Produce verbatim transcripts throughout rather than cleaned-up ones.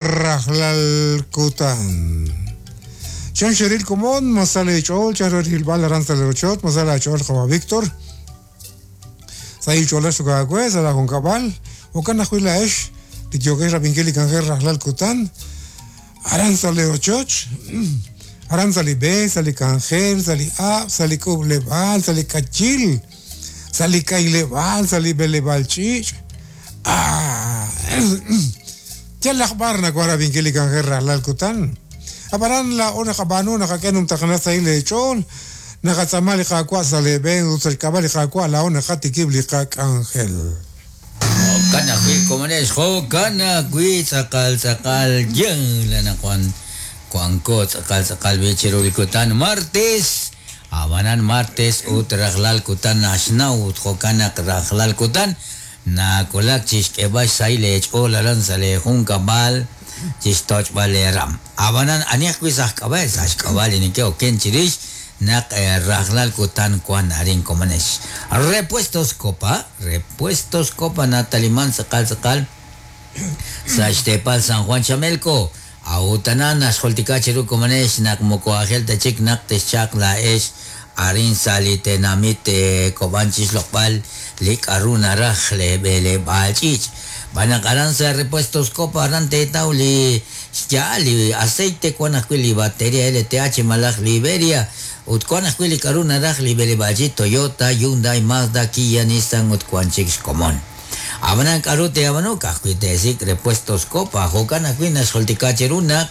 Rajlal kutan. Chan xeril komon, masale chol, chan rilbal aran sa lerochot, masale chol qawa Víctor. Sa ichola sugagwe, sa la junkabal, okan ajuila esh, litiokesh rabinkeli kanje rajlal kutan, aran sa lerochoch, aran sa libe, sa li kanjel, sa li ab, sa li kublebal, sa li kachil, sa li kailebal, sa li belebal chich. Ah, ya la akhbar na kwara binkeli kanje rajlal kutan. Aparan la ona kabano nakakenum takana sa ile chol nakatsamali kakwa sa leben utsal kabali kakwa la ona katikibli kak angel. Kana kwi komanes ho kana kwi sakal sakal jeng la nakwan kuangko sakal sakal bichirul kutan martes abanan martes utraglal kutan nasnau hokana kraglal kutan na kolak chishkeba sa ile chol aran sa le junkabal chistoch baleram abanan aniak kwi sahkabal sahkabal ini ke oken chirish nak raglal kutan kuan arin komanes repuestos copa repuestos copa nataliman sakal sakal sa Ixtepal San Juan Chamelco autana xoltika chiru komanes nak mokoajel tachik nak techak la es arin salite namite kobanchis lokpal lik aruna rajle bele balchich banakaran sa repuestos copa arante tauli ya li aceite kuan li batería L T H malaj Liberia utkuan ajwi li karuna raj li belebaji Toyota Hyundai Mazda Kia Nissan utkuan chicks komon abanan karute abanu kajwi tesik repuestos copa jokan ajwi naxoltikacheruna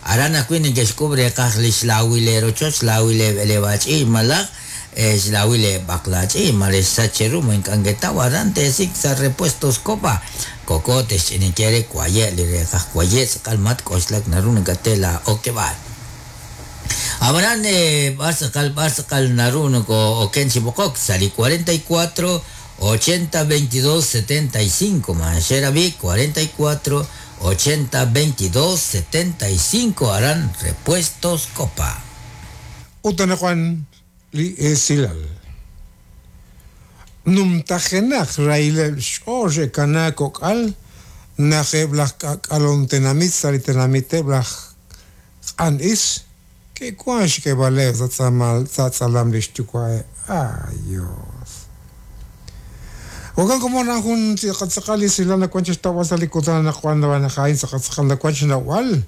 aran ajwi nikexkubre kaj lixlawilero choch lawile belebachi malaj xlawile baklachi malexacheru moinkangetaw aran tesik sa repuestos copa cocotes chiniquiere cuaye li cuaye calmat koxlak narun gatela okebal Abraham Barsakal Barsakal Narun ko Okenchi Bokok sali cuarenta y cuatro ochenta veintidós setenta y cinco Mancherabi cuarenta y cuatro ochenta veintidós setenta y cinco harán repuestos copa. Utanakuan li esilal. Numtajenak raile xoje kanakokal naje blak kalontenamit salitenamite blak an is que cuanch que vale zatzamal zatzalam lishtukwae. Ayos. Ogan como na jun tziqatzaqali silana cuanch estaba salikutana cuando van a jain tziqatzaqal cuanch nawal.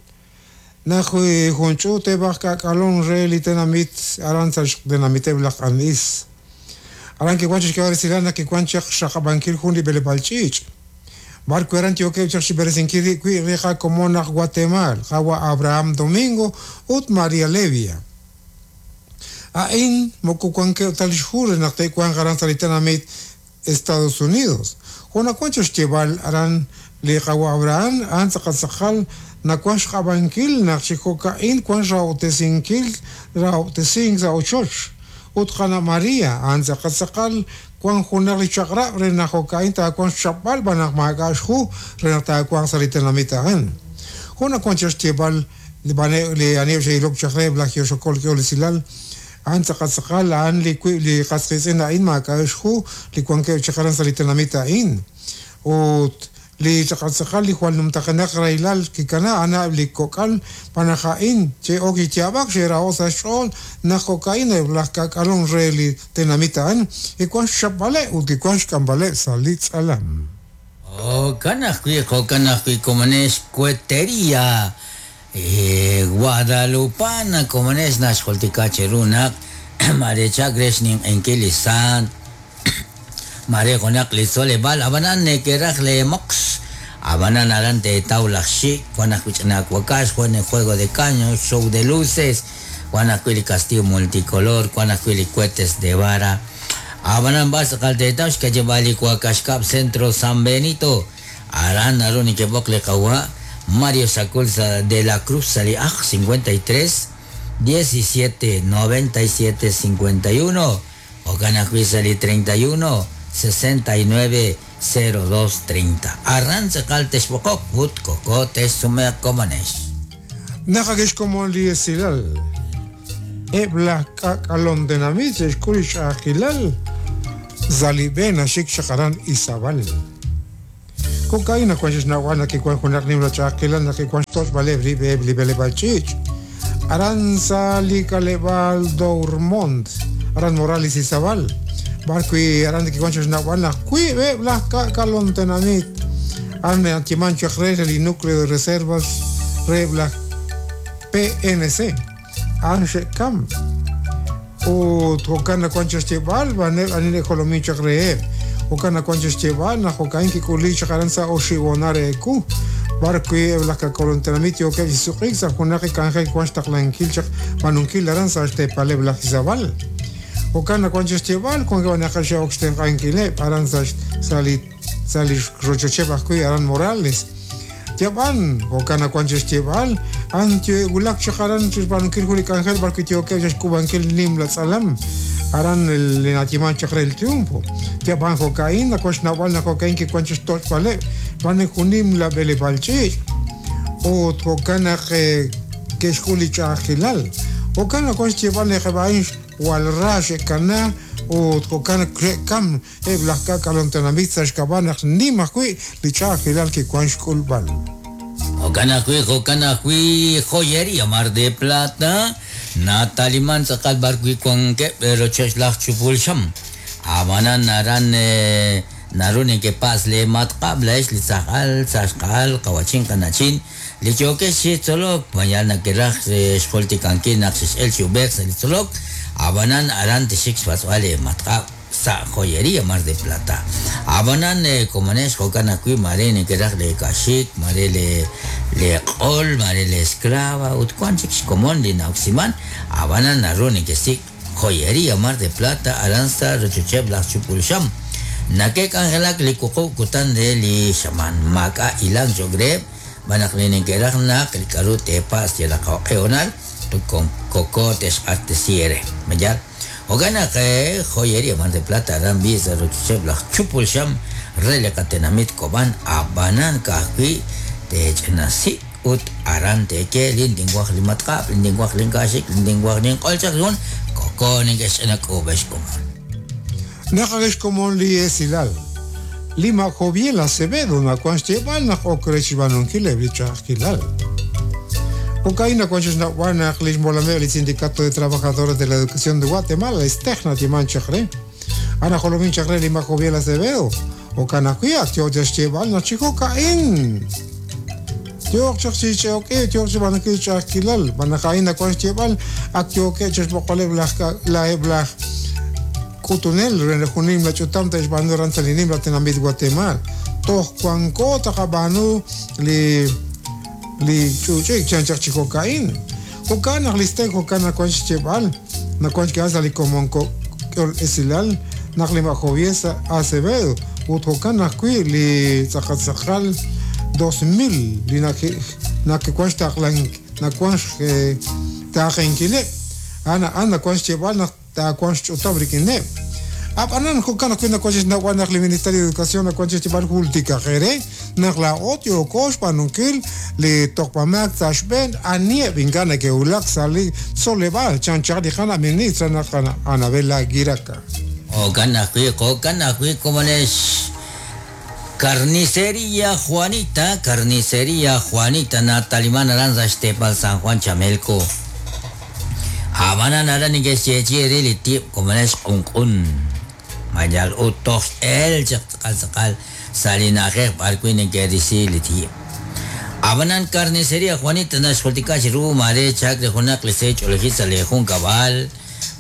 Nahui junchu te bajka kalon re litenamit aranza denamite blak an is. Aran que cuanch que vale silana que cuanch xaqabankil jun libelebalchich. Barco eran tío que chiberesinquiri qui reja como na Guatemala, Jawa Abraham Domingo ut María Levia. Ain mokukuanque tal jure na te cuan garan salitanamit Estados Unidos. Juana cuanchos cheval aran le Jawa Abraham an saqasaqal na cuanch jabankil na chicocaín cuan rautesinkil rautesing sa ochoch. Ut Jana María an saqasaqal Juan Junarli Chakra, Renajocaín, Tacuan Chapal, Banamagashhu, Renatacuan Salitenamitahan. Juana Conchas Tebal, Le Anev Ilok Chakre, Blackioshokol, Kiolesilal, Antzakatzakal, An Li Casresena in Macashhu, Licuanque Chakaran Salitenamita in. Ut Li Chakatzakal, Li Juan Numtakanak Railal, Kikana, Ana Likokal, Panajain, Che Oki Tiabak, Sheraosa Shol, Najocaín, Blacalon Reli Tenamitan, y Cuan Chapale, Uticuan Cambale, Salitz Alam. Oh, Canajui, Jocanajui, Comanes, Cuetería, eh, Guadalupana, Comanes, Nasholticacheruna, Marechagresnin, Enquilisan. Mare konak lisole bal abanan ne keraj le mox abanan arante taulaxi juana kuchana kuakash juana juego de caños show de luces juana kuili castillo multicolor juana kuili cohetes de vara abanan bas kalte taush kajebali kuakash cap centro San Benito aran aruni que bokle kawa Mario Saculza de la Cruz sali aj cincuenta y tres diecisiete noventa y siete cincuenta y uno Ocana Cuisali treinta y uno sesenta y nueve cero dos treinta. Arranza caltes bokok, ut cocotes sume comanes. Nakagesh como liesilal. Ebla kakalon denamit, escurish agilal. Zalibena shik shakaran isabal. Jo'kan naq wan xnawb'al naq kiwan junaq nimla ch'a'ajkilal naq kiwan xtoch'b'aleb' rib' eb' li b'eleb'aal ch'iich'. Aran sa li k'aleb'aal Dourmont, aran Morales Izabal. B'arwi' aran kiwan xnawb'al naq wiib' laj ka'kalon tenamit. Aran nayeeman chaq re li núcleo de reservas re laj P N C. Aran xe'kam. Ut jo'kan naq wan xyeeb'al b'aneb' ani jolomin chaq reheb'. Jo'kan naq wan xyeeb'al naq jo'kan kik'uli chaq aran sa oxib' reeku. B'arwi' eb' laj ka'kalon tenamit yookeb' chi suq'iik sa' junaq k'anjel wan xtaqlankil chaq b'aanunkil aran sa' xteepaleb' laj Izabal. Jo'kan naq wan xyeeb'al wan naq xe'ok xtenq'ankileb' aran sa' sa' li sa' li rochocheb' ajwi' aran Morales. Yab'an jo'kan naq wan xyeeb'al an wulak chaq aran xb'aanunkil jun li k'anjel b'arwi' yookeb' xk'ub'ankil nimla tz'alam aran li nayeeman chaq re el Triunfo. Yab'an jo'ka'in naq wan xnawb'al naq jo'ka'in kiwan xtoch'b'aleb' b'an jun nimla b'eleb'aal ch'iich' ut jo'kan naq ke'xk'ul li ch'a'ajkilal. Jo'kan naq wan xyeeb'al naq eb' a'in jwal ra xe'kana ut jo'kan naq xe'kam eb' laj ka'kalon tenamit sa' xk'ab'a' naq nim ajwi' li ch'a'ajkilal kiwan xk'ulb'al. Jo'kan ajwi' jo'kan ajwi' Joyería Mar de Plata nataliman tz'aqal b'arwi' wankeb' rochoch laj Chupul Xam. Ab'anan aran naru neke'pas le matq'ab' la'ex li tzajal tz'axq'al qawachin qanachin li yookex chi tzolok mayal nakeraj xjultikankil naq xex'el chi ub'eq sa' li tzolok ab'anan aran tixik xpatz'b'al le matq'ab' sa' Joyería Mar de Plata. Ab'anan komonex jo'kan ajwi' mare nekeraj le kaxik mare le le q'ol mare le esclava ut wan chik xkomon li na'oksiman ab'anan naru nekesik Joyería Mar de Plata aran sa' rochocheb' laj Chupul Xam. Nakek'anjelak li wuqub' kutan re li xaman maak'a' ilang cho'q reheb' b'anaq li neke'raj naq li k'aru teepas yalaq jo'q'ehonal koko texq'axtesi ere. Mayal jo'kan naq Joyería Mar de Plata aran b'i sa' rochocheb' laj Chupul Xam re li qatenamit Kob'an ab'anan ka'ajwi' teech'inasi ut aran teeke lintinwaj li matq'ab' lintinwaj linkaxik lintinwaj linq'ol chaq jun koko neke'xch'inak'uub'ex komon. Naq komon li esilal. Lima Joviel Acevedo naq wan xyeeb'al naq ok re xb'aanunkil eb' li ch'a'ajkilal. Jo'kan naq wan xnawb'al naq li xmolameb' li Sindicato de Trabajadores de la Educación de Guatemala STEGNA yeeman chaq re. Ana jolomin chaq re Lima Joviel Acevedo. Jo'kan ajwi' ak yoo xyeeb'al naq chi jo'ka'in. Yook chaq chi ch'oq'e yook chi b'aanunkil ch'a'ajkilal. B'anaq a'in naq wan xyeeb'al ak yookeb' chi xb'oqoleb' laj la'eb' laj k'utunel re junim la ch'utam te'xb'aanu aran sa' li nimla tenamit Guatemala. Toj wanko taqab'aanu li li ch'uch'ik chan chaq chi jo'ka'in. Jo'kan naq li STEG jo'kan naq wan xyeeb'al naq wan xk'ehal sa' li komon k'ol esilal naq li Joviel Acevedo ut jo'kan ajwi' li tz'aqal dos mil li naq wan xtaqlan naq wan xtaqenkileb' ana ana wan xyeeb'al naq taawan xch'utam rik'ineb'. Ab'anan jo'kan ajwi' naq wan xnawb'al naq li Ministerio de Educación naq wan xyeeb'al jultikaq ere naq laa'o yooko xb'aanunkil li toqb'amaak sa' xb'een anieb' ink'a' neke'wulak sa' li tzoleb'aal chan chaq li qana ministra naq Anabel Aguiraca. Jo'kan ajwi' jo'kan ajwi' komonex Carnicería Juanita, Carnicería Juanita nataliman aran sa xteepal San Juan Chamelco. Ab'anan aran neke'xyeechi ere li tib' komonex q'unq'un. Mayal ut toj x'el chaq tz'aqal tz'aqal sa' li na'ajej b'arwi' neke'risi li tib'. Ab'anan Carnicería Juanita naxjultika chi ru mare chak re junaq li seech'olejil sa' li jun kab'al,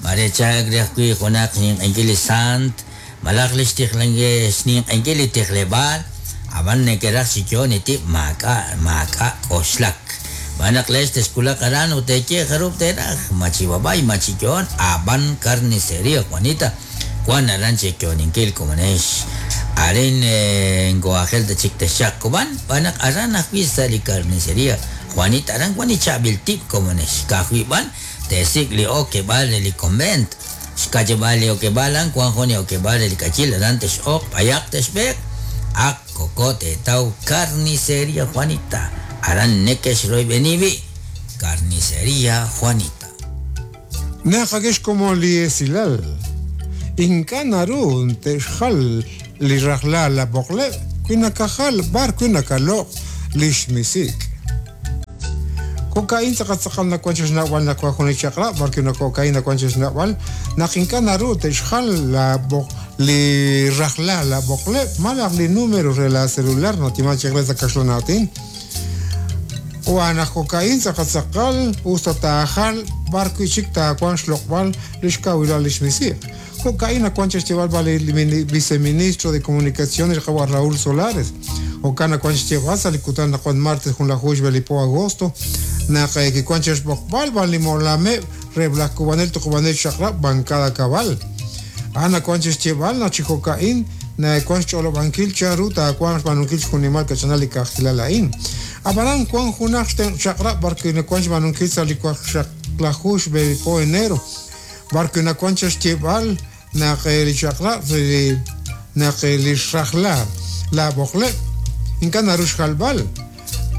mare chak re ajwi' junaq ninq'enkil li sant, malaj li xtijlanke xninq'enkil li tijleb'aal, ab'an neke'raj chi yoon li tib' maak'a' maak'a' k'oxlak. B'anaq lex texkulaq aran ut teeye jarub' teeraj, machib'ab'ay machiyoon, ab'an Carnicería Juanita wan aran cheyooninkil komonex. Arin ngoajel tachik texaq Kob'an, b'anaq aran ajwi' sa' li Carnicería Juanita aran wan li chaab'il tib' komonex. Ka'ajwi' b'an teesik' li okeb'aal re li convent. Xkacheb'aal li okeb'aal an wan jun li okeb'aal re li k'achil aran tex'oq b'ayaq texb'eq ak koko teetaw Carnicería Juanita. Aran neke'xroyb'eni wi' Carnicería Juanita. Naq akex komon li esilal. Ink'a' naru te'xjal li rajlal la b'oqleb' wi nakajal b'ar wi nakaloq lix misik. Jo'ka'in tz'aqal nawan xnawb'al naq wan jun li chaq'rab' b'ar wi jo'ka'in nawan xnawb'al naq ink'a' naru te'xjal la li rajla la b'oqleb' malaj li número re la celular notiman chaq re sa' kaxlan aatin. Wan naq jo'ka'in tz'aqal usta taajal b'ar wi chik taawan xloq'b'al lix kawilal lix misiq. Jo'ka'in nawan xyeeb'al b'al li viceministro de Comunicaciones qawa' Raúl Solares. Jo'kan nawan xyeeb'al sa' li kutan naq wan martes jun lajuj xb'e li po agosto naq kiwan xb'oqb'al b'al li molameb' re laj kubanel tuqub'anel xaqrab' bancada cabal. A'an nawan xyeeb'al naq chi jo'ka'in nawan xch'olob'ankil chanru taawan xb'aanunkil xjunimal kach'inal li kajilal a'in. Ab'anan wan junaq xaqrab' b'ar wi nawan xb'aanunkil sa' li waqxaqlajuj xb'e li po enero b'ar wi nawan xyeeb'al naq li xaqrab' naq li xrajla la b'oqleb' ink'a' naru xjalb'al.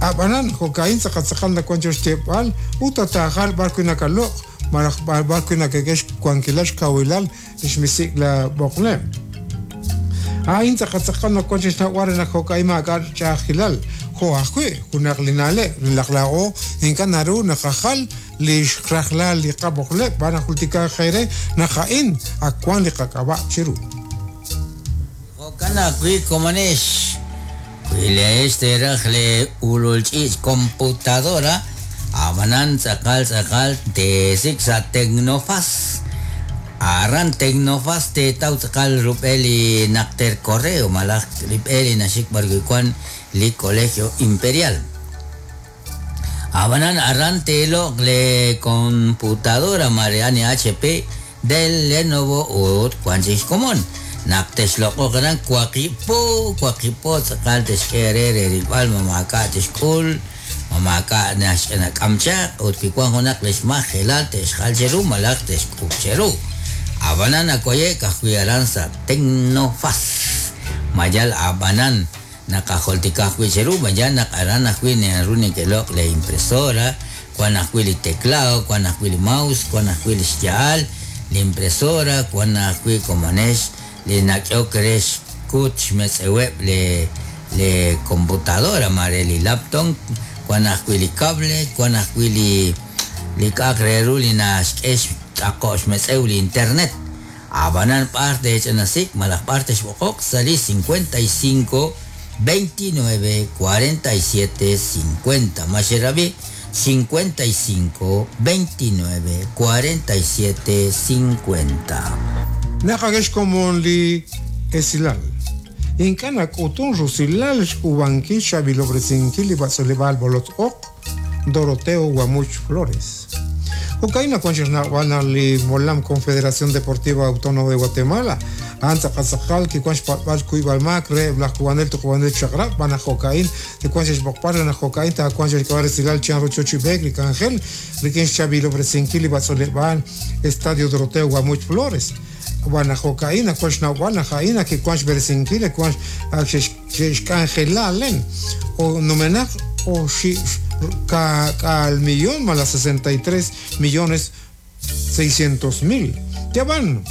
Ab'anan jo'ka'in tz'aqal nawan xyeeb'al ut taajal b'ar wi nakaloq malaj b'ar wi nakek'e xwankilal xkawilal lix misik la b'oqleb'. A'in tz'aqal nawan xnawb'al re naq jo'ka'in maak'a' ch'a'ajkilal jo' ajwi' junaq li na'leb' laj laa'o ink'a' naru naqajal li xrajlal li qab'oqleb' b'ar najultika qere naq a'in ak wan li qak'ab'a' chiru. Jo'kan ajwi' komonex wi leex teraj le ulul ch'iich computadora ab'anan tz'aqal tz'aqal teesik sa' Tecnofaz. Aran Tecnofaz teetaw tz'aqal rub'el li naqter correo malaj rib'el li naxik b'ar wi wan li Colegio Imperial. Ab'anan aran teeloq le computadora Mariani H P del Lenovo ut wan chik xkomon. Naq texloq'oq aran waqipo waqipo tz'aqal texk'e re re rilb'al mamaak'a' texk'ul mamaak'a' naxk'am chaq ut wi wan junaq lix majelal texjal cheru malaj texk'ub cheru. Ab'anan akoyek ajwi' aran sa' Tecnofaz. Mayal ab'anan naqajoltika ajwi' cheru mayal naq aran ajwi' naru neke'loq le impresora wan ajwi' li teclado wan ajwi' li mouse wan ajwi' li xya'al li impresora wan ajwi' komonex li nak'ehok re xkut xmetz'eweb' le le computadora mare li laptop wan ajwi' li cable wan ajwi' li li k'aq re ru li naxk'e xtz'aqo' xmetz'ew li internet. Ab'anan b'ar tech'anasik malaj b'ar texb'oqoq sa' li cincuenta y cinco veintinueve cuarenta y siete cincuenta. Maxerabi cincuenta y cinco veintinueve cuarenta y siete cincuenta. Naqakex komon li esilal. Ink'a' nak'utun rusilal xk'ub'ankil xab'ilob'resinkil li b'atz'uleb'aal b'olotz oq Doroteo Guamuch Flores. Jo'ka'in nawan xnawb'al naq li Molam Confederación Deportiva Autónoma de Guatemala a'an tz'aqal kiwan xpatb'al kuyb'al maak re laj kubanel tuqub'anel xaqrab' b'an aj jo'ka'in kiwan xb'oqb'al re naq jo'ka'in taawan xk'ab'a' resilal chan ru chochib'eek li k'anjel rik'in xchab'ilob'resinkil li b'atz'uleb'aal Estadio Doroteo Guamuch Flores. B'an aj jo'ka'in nawan xnawb'al naq a'in kiwan xb'eresinkil kiwan xk'anjelalen o numenaq o xi al millón más las sesenta y tres millones seiscientos mil. Ya van.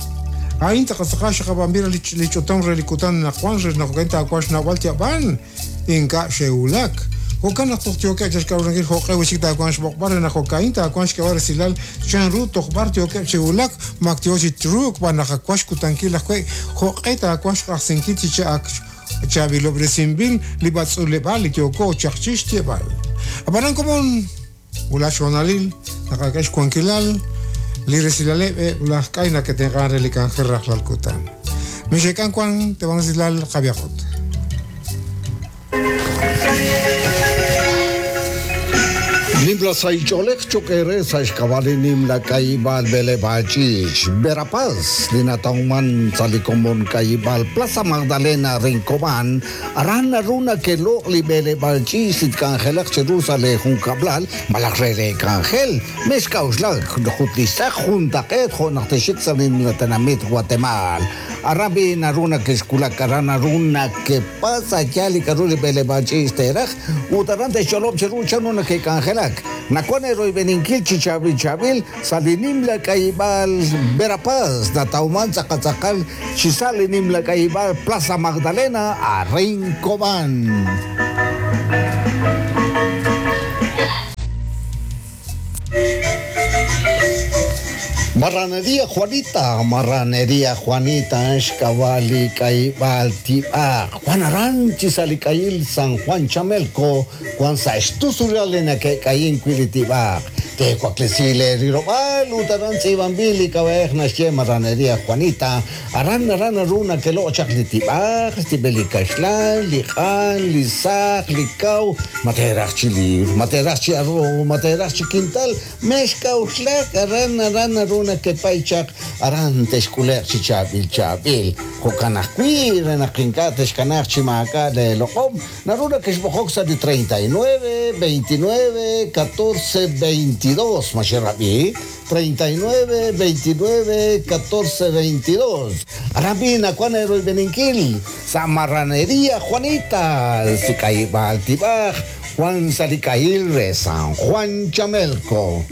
Ahí taqasaqash qabambira lichotan relikutan najuan najuenta akuash nawal ya van. Inka sheulak. Jokan naqtoqtioka chashkawrankil joq'e wixik taakuan xb'oqb'al re naq jo'ka'in taakuan xk'eb'al resilal chanru tojb'ar tiokeb' chiwulak maktiochi truk b'an naq akuax kutankil ajwi' joq'e taakuan xq'ajsinkil chi cha'ak chabilob'resinb'il li b'atz'uleb'al li tioko chaqchix tieb'al. Ab'anan komon ula xonalil naqak'ex xwankilal li resilaleb' laj k'ay naketenq'an re li k'anjel rajlal kutan. Mixekan kuan te van resilal Javier. Nimla saicholek chokere saixkabali nimla kaibal belebachich Verapaz linatauman salikomon kaibal Plaza Magdalena Rincoban aran runa que lo li belebachich litkangelak cherusale junkablal malakrere kangel mezcauslak jutlisak juntaket jonateshik salimlatanamit Guatemala Arabi naruna que esculak arana runa que pasa yali karuli belebachich teraj utarante cholop cherucha nuna que kangelak k'anjelak nawan eroyb'eninkil chi chaab'il chaab'il sa' li nimla k'ayib'aal Verapaz natawman tz'aqal chi sa' li nimla k'ayib'aal Plaza Magdalena a Cobán. Marranería Juanita, Marranería Juanita, Xkawali, Kaibal, Tiba, Juan Aranchi, Salikayil, San Juan Chamelco, Juan Saxtusuralena, que Caín Quilitiba, Tecuaclesile, Rirobal, Utaran, Sibambili, Cabej, Naxie, Marranería Juanita, Aran, Aran, Aruna, que lo Chaclitiba, Stibeli Caxlan, Lijan, Lizac, Licau, Materach Chili, Materach Chiarro, Materach Chiquintal, Mexca, Uxlac, Aran, Aran, Aruna, que paychaq aran texkuleq chi chaab'il chaab'il jo'kan ajwi' re naq ink'a' texkanaj chi maak'a' le loq'om naruna kixb'oqok sa' li treinta y nueve, veintinueve, catorce, veintidós maxerab'i treinta y nueve, veintinueve, catorce, veintidós aran nakuan eroyb'eninkil sa' Marranería Juanita sik'ayib'al tib'aj Juan Salikayil re San Juan Chamelco.